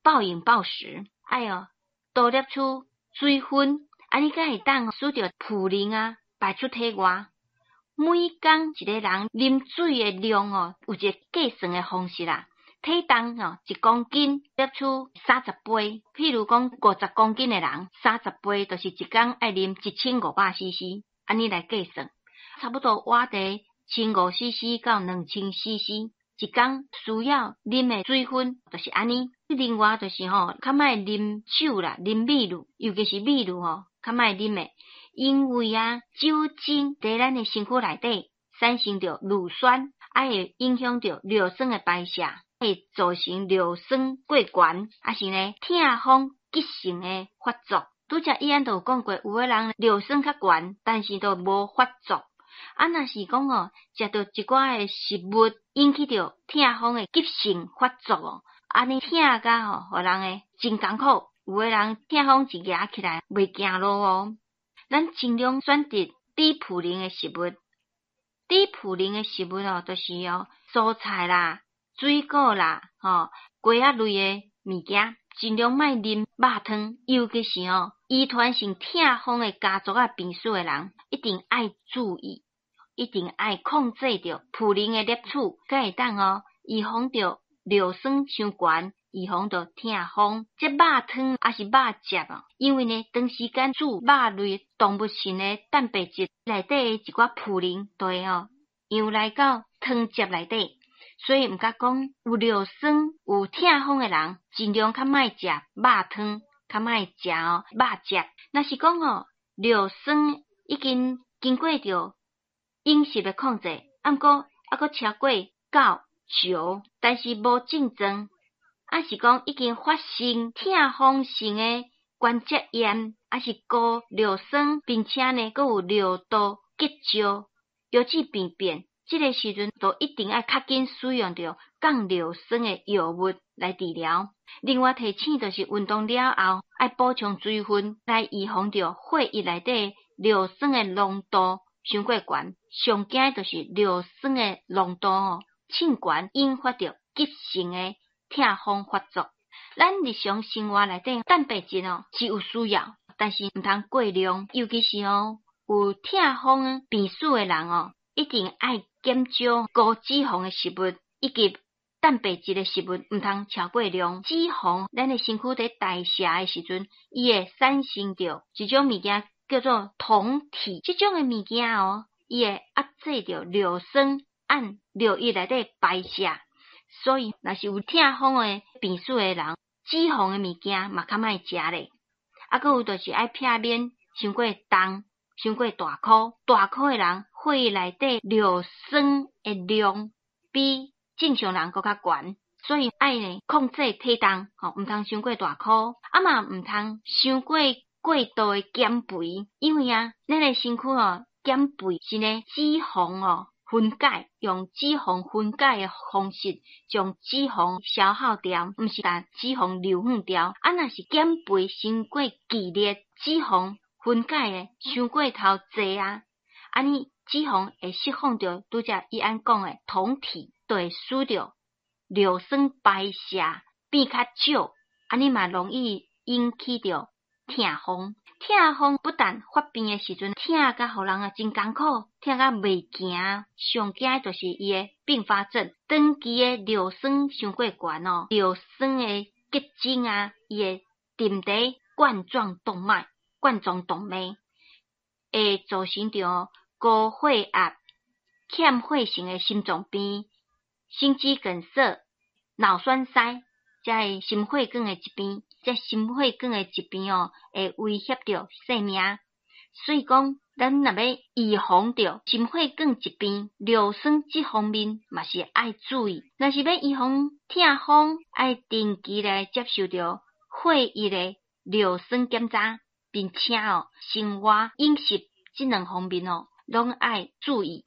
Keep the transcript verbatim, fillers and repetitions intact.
暴飲暴食，愛哦多攝取水分，按呢才會當使著普林啊排出體外。每工一個人啉水的量哦，有一個計算的方式啦。體重哦一公斤攝取三十杯，譬如講五十公斤的人，三十杯就是一工愛啉一千五百 C C，按呢來計算，差不多活佇千五 C C 到兩千 C C，一工需要啉的水分就是按呢。另外就是吼，較莫啉酒啦，啉米露，尤其是米露吼，較莫啉的，因為啊，酒精佇咱的身軀內底產生著乳酸，啊會影響著尿酸的排泄，會造成尿酸過懸，抑是呢痛風急性的發作。拄才醫院都有講過，有的人尿酸較懸，但是都無發作。啊，若是講哦，食著一寡的食物引起著痛風的急性發作哦，按呢疼甲吼，予人會真艱苦。有的人痛風一夯起來袂行路哦。咱盡量選擇低普林的食物，低普林的食物哦，就是哦蔬菜啦、水果啦、吼瓜仔類的物件，盡量莫啉肉湯，尤其是哦遺傳性痛風的家族仔病史的人，一定愛注意，一定愛控制著普林的攝取，才會當哦預防著尿酸傷懸，預防著痛風。這肉湯抑是肉汁哦，因為呢長時間煮肉類動物性的蛋白質內底的一寡普林，就會哦揚來到湯汁內底，所以毋敢講有尿酸有痛風的人，盡量較莫食肉湯，較莫食哦肉汁。若是講哦尿酸已經經過著飲食的控制，啊毋過猶閣超過九九，但是無症狀，抑是講已經發生痛風性的關節炎，抑是高尿酸，並且呢閣有尿道結石、腰子病變，這個時陣都一定愛較緊使用著降尿酸的藥物來治療。另外提醒就是運動了後愛補充水分，來預防著血液內底尿酸的濃度傷過懸。上驚的就是尿酸的濃度吼，衝懸引發著急性的痛風發作。咱日常生活內底蛋白質哦是有需要，但是毋通過量，尤其是哦有痛風病史的人哦，一定愛減少高脂肪的食物，以及蛋白質的食物，毋通超過量。脂肪，咱的身軀佇代謝的時陣，伊會產生著一種物件叫做酮體，這種的物件哦，伊會壓制著尿酸按尿液內底排泄。所以，若是有痛風的病史的人，脂肪的物件嘛較莫食咧。啊，閣有就是愛避免傷過重、傷過大箍。大箍的人，血液內底尿酸的量比正常人閣較懸，所以愛呢控制體重，吼，毋通傷過大箍，啊嘛毋通傷過過度的減肥，因為啊，咱的身軀哦減肥是呢脂肪哦分解，用脂肪分解的方式將脂肪消耗掉，毋是將脂肪留遠掉。啊，若是減肥傷過劇烈，脂肪分解的傷過頭濟啊，按呢脂肪會釋放著拄才伊按講的酮體，就會使著尿酸排泄變較少，按呢嘛容易引起著痛風。痛風不但發病的時陣疼甲予人啊真艱苦，疼甲袂行，上驚的就是伊的併發症，長期的尿酸傷過懸哦，尿酸的結晶啊，伊會沉佇冠狀動脈、冠狀動脈，會造成著高血壓、欠血性的心臟病、心肌梗塞、腦栓塞，這个心血管的疾病，這心血管的疾病哦，會威脅著性命。所以講，咱若欲預防著心血管疾病、尿酸這方面嘛是愛注意。若是欲預防痛風，愛定期來接受著血液的尿酸檢查，並且哦，生活飲食這兩方面哦，攏愛注意。